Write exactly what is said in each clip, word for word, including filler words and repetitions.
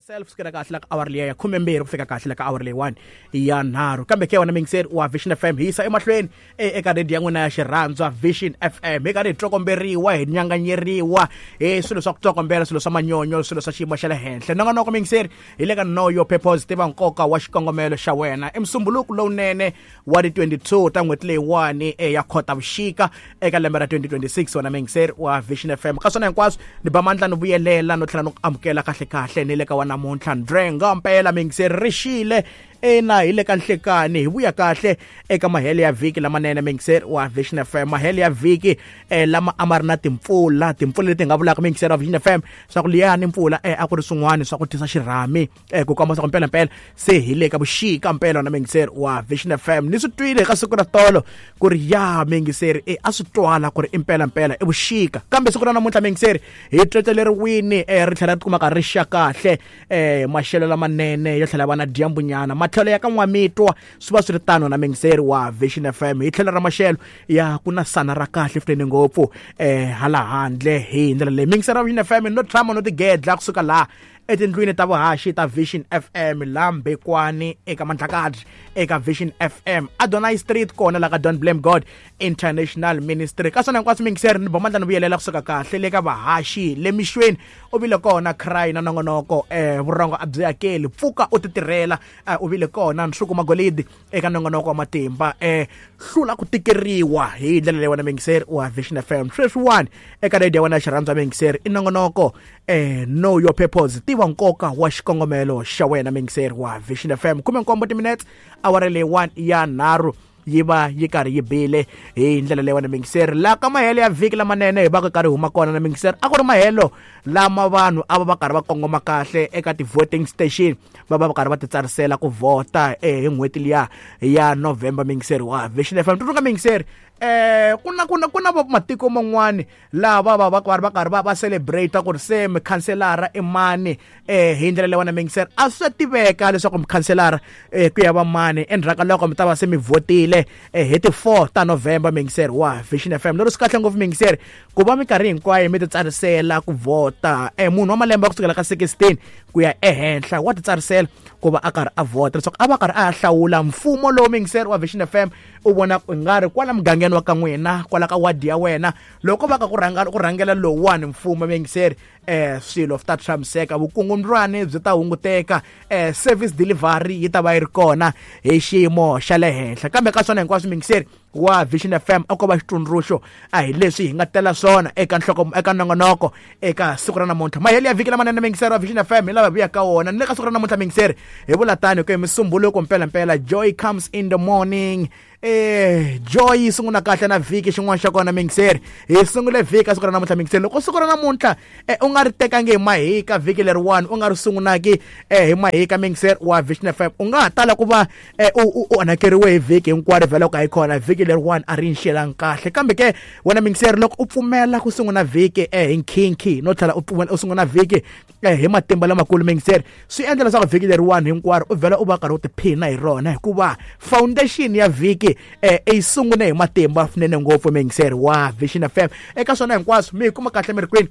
Self sukela kahle la ka awara liya ya khumembirhi ku fika kahle la ka awara leyiwani ya nharhu. Kambe ke wena mingiseri wa Vision F M, hi yisa emahlweni eka radio ya n'wina ya xirhandzwa Vision F M. Hi karhi hi tsokomberiwa, hi nyanganyeriwa hi swilo swa ku tsokombela, swilo swa manyonyo, swilo swa xiyimo xa le henhla. Nongonoko mingiseri hi le ka Know Your Purpose, tiva nkoka wa xikongomelo xa wena. I musumbuluku lowunene wa ti twenty-two ta n'hweti leyiwani ya Khotavuxika eka lembe ra twenty twenty-six. Wena mingiseri wa Vision F M, ka swona hinkwaswo ni ba mandla ni vuyelela no tlhela no amukela kahle kahle ni le ka wa namuntlha ndrenga mpela mingiseri rixile ena hi le ka nhlekani. Hi vuya kahle eka mahele ya vhiki lamanene mingiseri wa Vision F M, mahele ya vhiki eh, lama a ma ri na timpfula, timpfula leti nga vulaka mingiseri wa Vision F M swa ku liyani mpfula eh, a ku ri swin'wana swa ku tisa xirhami eh, ku komba swa ku mpela mpela se hi le ka vuxika mpela na mingiseri wa Vision F M. Ni swi twile ka siku ra tolo ku ri ya mingiseri eh, a swi twala ku ri impela mpela i vuxika, kambe siku ra namuntlha mingiseri hi tweteleriwini eh, ri tlhela ri kumaka ri xa kahle eh, maxelo lamanene yo tlhela va na dyambunyana matlhelo ya ka n'wamitwa swi va swi ri tano na mingiseri wa Vision F M. Hi tlhelo ra maxelo ya ku na sana ra kahle swinene ngopfu eh hala handle hi ndlela leyi mingiseri wa Vision F M no tshama no tigedla kusuka laha etindlwini ta vuhaxi ta Vision F M la Mbekwani eka Mandlakadzi eka Vision F M Adonai Street kona la ka Don't Blame God International Ministry. Ka swona hinkwaswo mingiseri ni bomandla ni vuyelela kusuka kahle le ka vahaxi le mixweni u vile kona cry na nongonoko eh vurhongo a byi hakeli pfuka u ti tirhela u vile kona Nsuku Magolidi eka nongonoko wa matimba eh hlula ku tikeriwa hi ndlela leyi wena mingiseri wa Vision F M. Sweswiwani eka radio ya wena xirhandza mingiseri i nongonoko eh Know Your Purpose, tiva nkoka wa xikongomelo xa wena mingiseri wa Vision F M. Khume nkombo timinetse awara leyiwani ya nharhu yi va yi karhi yi bile hi ndlela leyi wena mingiseri. La ka mahelo ya vhiki lamanene hi va ka karhi huma kona na mingiseri, a ku ri mahelo lama vanhu a va va karhi va kongoma kahle eka ti-voting station, va va va karhi va titsarisela ku vhota eh hi n'hweti liya ya November mingiseri wa Vision F M. Tsundzuka mingiseri eh kuna kuna kuna matiko man'wani lava va va karhi va karhi va va celebrate ku ri se mukhanselara i mani eh hi ndlela leyi wena mingiseri a swi tiveka leswaku mukhanselara eh ku ya va mani endzhaku ka loko mi ta va se mi vhotile eh hi ti four ta November mingiseri wa Vision F M. Lero swi kahle ngopfu mingiseri ku va minkarhi hinkwayo mi titsarisela ku vhota eh munhu wa malembe ya kusukela ka sixteen ku ya ehenhla wa titsarisela ku va a karhi a vhota leswaku a va karhi a hlawula mfumo lowu mingiseri wa Vision F M u vona ku nga ri kwala mugangeni wa ka n'wina kwala ka wadi ya wena loko va ka ku rhangela ku rhangela lowuwani mfumo mingiseri eh swilo swi ta tshamiseka, vukungundwani byi ta hunguteka eh service delivery yi ta va yi ri kona hi xiyimo xa le henhla. Kambe ka swona hinkwaswo mingiseri wa Vision F M a ko va xitsundzuxo a hi leswi hi nga tela swona eka nhloko eka nongonoko eka siku ra namuntlha. Mahelo ya vhiki lamanene mingiseri wa Vision F M hi lava vuya ka wona ni le ka siku ra namuntlha mingiseri hi vula tani ku hi musumbuluko mpela mpela joy comes in the morning. Eh joy yi sungula kahle na vhiki xin'wana xa kona mingiseri hi sungule vhiki ka siku ra namuntlha mingiseri. Loko siku ra namuntlha eh, u nga ri tekangi hi mahika vhiki leriwani u nga ri sungunaki eh, hi mahika mingiseri wa Vision F M u nga ha tala ku va eh, u onhakeriwe hi vhiki hinkwaro vhela ka hi kona vhiki leriwani a ri nxelanga kahle. Kambe ke wena mingiseri loko u pfumela ku sungula vhiki eh, hi nkhinkhi no tlhela u pfumela u sungula vhiki eh, hi matimba lamakulu mingiseri swi endla leswaku vhiki leriwani hinkwaro u vhela u va karhi u tiphina hi rona hikuva foundation ya vhiki eh i sungule hi matimba swinene ngopfu mingiseri wa Vision F M. Eka swona hinkwaswo mi hi kuma kahle mi ri kwini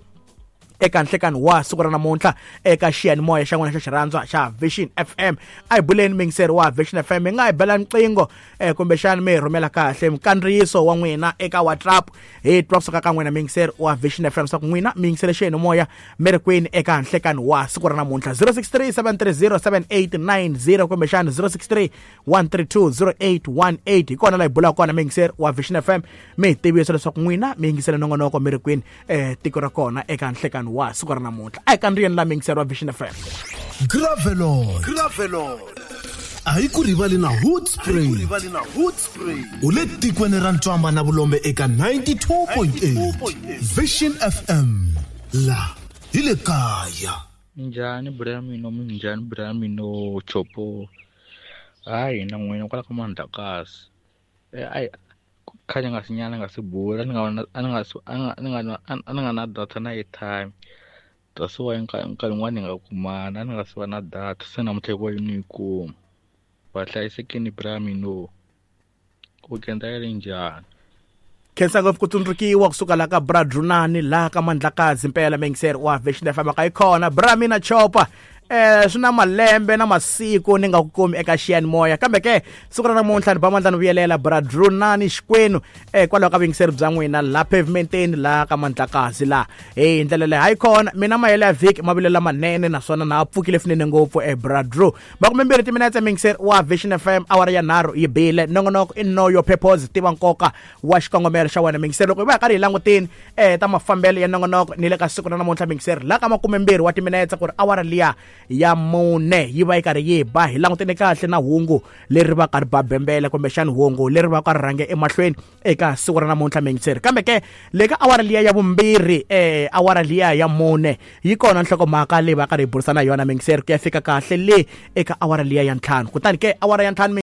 eka nhlekani wa siku ra namuntlha eka xiyanimoya xa n'wina xa xirhandzwa xa Vision F M. A hi buleni mingiseri wa Vision F M, mi nga hi bela nqingho eh, kumbexani mi hi rhumela kahle nkandziyiso wa n'wina eka WhatsApp hi twa kusuka ka n'wina mingiseri wa Vision F M swa ku n'wina mi yingisele xiyanimoya mi ri kwini eka nhlekani wa siku ra namuntlha zero six three seven three zero seven eight nine zero kumbexani zero six three one three two zero eight one eight hi kona la hi bulaka kona mingiseri wa Vision F M mi hi tivisa leswaku n'wina mi yingisele nongonoko mi ri kwini eh, tiko ra kona eka nhlekani wa siku ra namuntlha. A hi kandziyeni la mingiseri wa Vision F M. Gravelon Gravelon a hi ku rivali na Hood Spring u le tikweni ra Ntswamba na Vulombe eka ninety-two point eight Vision F M la hi le kaya. Minjhani bra mino, minjhani bra mino chopo. Hayi na n'wina kwala ka Mandlakazi eh ai khale nga sinyana nga si bula ni nga a ni nga a ni nga a ni nga na data na airtime. That's why nkarhi nkarhi wun'wani hi nga kumana a ni nga si va na data se namuntlha hi ku ni yi kuma. Va hlayisekini bra mino ku kenda ya le njhani? Khensa ngopfu ku tsundzukiwa kusuka la ka Bra Drunani la ka Mandlakazi mpela mingiseri wa Vision F M ka yi kona bra mina chopa eh swi na malembe na masiku ni nga ku kumi eka xiyanimoya kambe ke siku ra namuntlha ni ba mandla ni vuyelela bra Drew nani Xikwenu eh kwalaho ka vuyingiseri bya n'wina la pavementeni la ka Mandlakazi la hi ndlela leyi hayi kona mina mahelo ya vhiki mavilo lamanene naswona na pfukile swinene ngopfu eh bra Drew makumembirhi timinetse muyingiseri wa Vision F M awara ya nharhu yi bile nongonoko i know your purpose tiva nkoka wa xikongomelo xa wena muyingiseri loko hi va hi karhi hi langutini eh ta mafambelo ya nongonoko ni le ka siku ra namuntlha muyingiseri la ka makumembirhi wa timinetse ku ri awara liya ya mune yi va yi karhi yi ba hi langutene kahle na hungu leri va ka ri ba bembele kumbexani hungu leri va ka ri rhange emahlweni eka siku ra namuntlha muyingiseri kambe ke le ka awara liya ya vumbirhi eh awara liya ya mune yi kona nhlokomhaka leyi va karhi hi burisana yona muyingiseri ku ya fika kahle le eka awara liya ya ntlhanu kutani ke awara ya ntlhanu.